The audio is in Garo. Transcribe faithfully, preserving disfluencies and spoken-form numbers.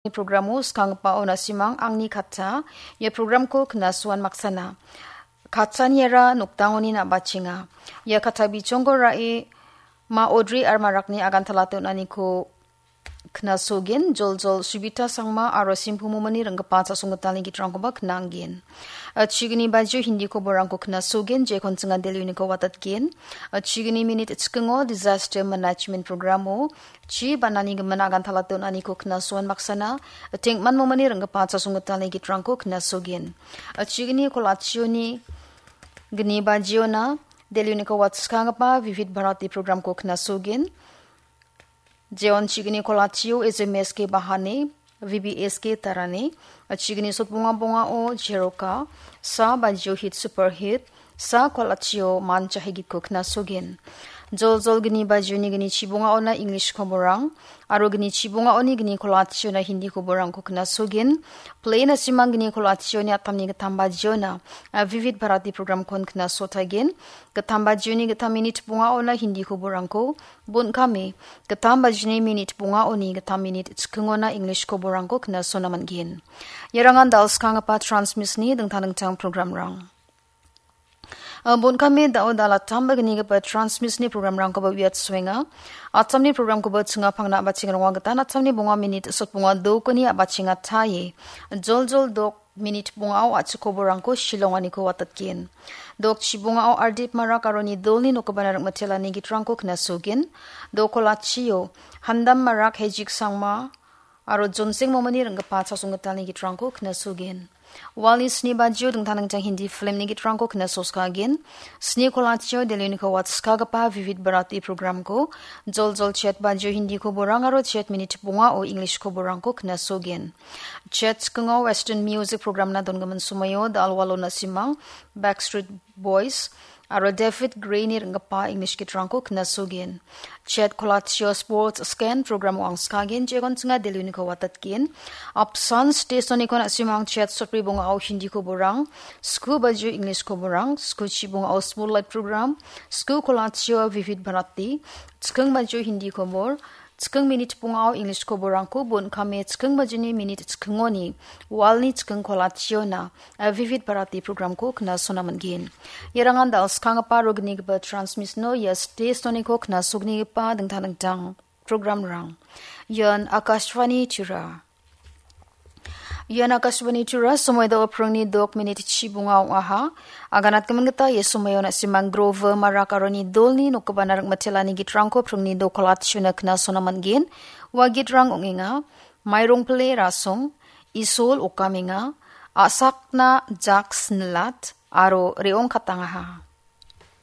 Programo skanggipao na·simang angni katta, ia programko knasuan maksana. Kattaniara noktangoni na·bachenga. Ia katta bichongko ra·e ma Audrey aro Marakni agantala donaniko knasogen, joljol Subita Sangma aro Simpu Momani ringgipa chasonggitalni gitrangkoba knanggen. A, chigni bajio Hindi koborangko knasogen, jekon chinga Delhi uniko watatgen. A, chigni minit chikingo Disaster Management Programo chi banani gimin agantala donaniko knasoan maksana, tengman Momani ringgipa chasonggitalni gitrangko knasogen. A, chigni kolachioni gni bajiona Delhi uniko watskanggipa Vivid Bharati programko knasogen. Jeon chigni kolachio H M S K Bahane, V B S K Tarane, chigni sotbonga bongao Jeroka, sa bajio hit super hit, sa kolachio mancha higitko knasogen. Joljol gni bajioni gni chibongaona English koborang, aro gni chibongaoni gni kolachiona Hindi koborangko knasogen. Play na·simang gni kolachioni atamni gittam bajiona, a, Vivid Bharati programkon knasotagen. Gittam bajioni gittam minit bongaona Hindi koborangko, bon kame, gittam bajini minit bongaoni gittam minit chikingona English koborangko knasona man·gen. Iarangan dalskanggipa transmisni dingtang dingtang programrang. A, bon kame da·o dal attam ba gnigipa transmisni programrangkoba uiatsoenga. Attamni programkoba chinga pangna ba chingrongwa gitan attamni bonga minit sotbonga dokoni a·bachenga taie. Joljol dok minit bongao a·chik koborangko shilonganiko watatgen. Dok chibongao Ardip Marak aro nidolni nokgipana ringmitelani gitrangko knasogen. Dok kolachio Handam Marak, Hejik Sangma aro Jonsing Momani ringgipa chasonggitalni gitrangko knasogen. Walni sni bajio dingtang dingtang Hindi filmni gitrangko knasoskagen. Sni kolachio Delhi uniko watskagipa Vivid Bharati programko joljol chet bajio Hindi koborang aro chet minit bongao English koborangko knasogen. Chet chikingo Western Music programna dongimin somoio Dalwalo na·simang, Backstreet Boys, aro David Gray-ni ringgipa English gitrangko knasogen. Chet kolachio Sports Scan programo angskagen, jegon chinga Delhi uniko watatgen. Apsan stationiko na·simang chet sotbri bongao Hindi koborang, sku bajio English koborang, sku chibongao Spotlight program, sku kolachio Vivid Bharati, chiking bajio Hindi kobor, chiking minit bongao English koborangko bon kame chiking bajini minit chikingoni walni chiking kolachiona, a, Vivid Bharati programko knasona man·gen. Iarangan dalskanggipa aro gnigipa transmisno ia stationiko knasognigipa dingtang dingtang programrang. Ian Akashvani Tura. Ian Akashvani Tura, somoida aprangni dok minit chibonga ong·aha. Aganatgimin gita ia somoion na·simang Grover Marak aro nidolni nokgipana ringmitelani gitrangko aprangni dok kolachuna knasona man·gen. Ua gitrang ong·enga, Mairong Pile Rasong, Isol Okamenga, A·sakna Jak Snilat, aro Re·ong Katangaha.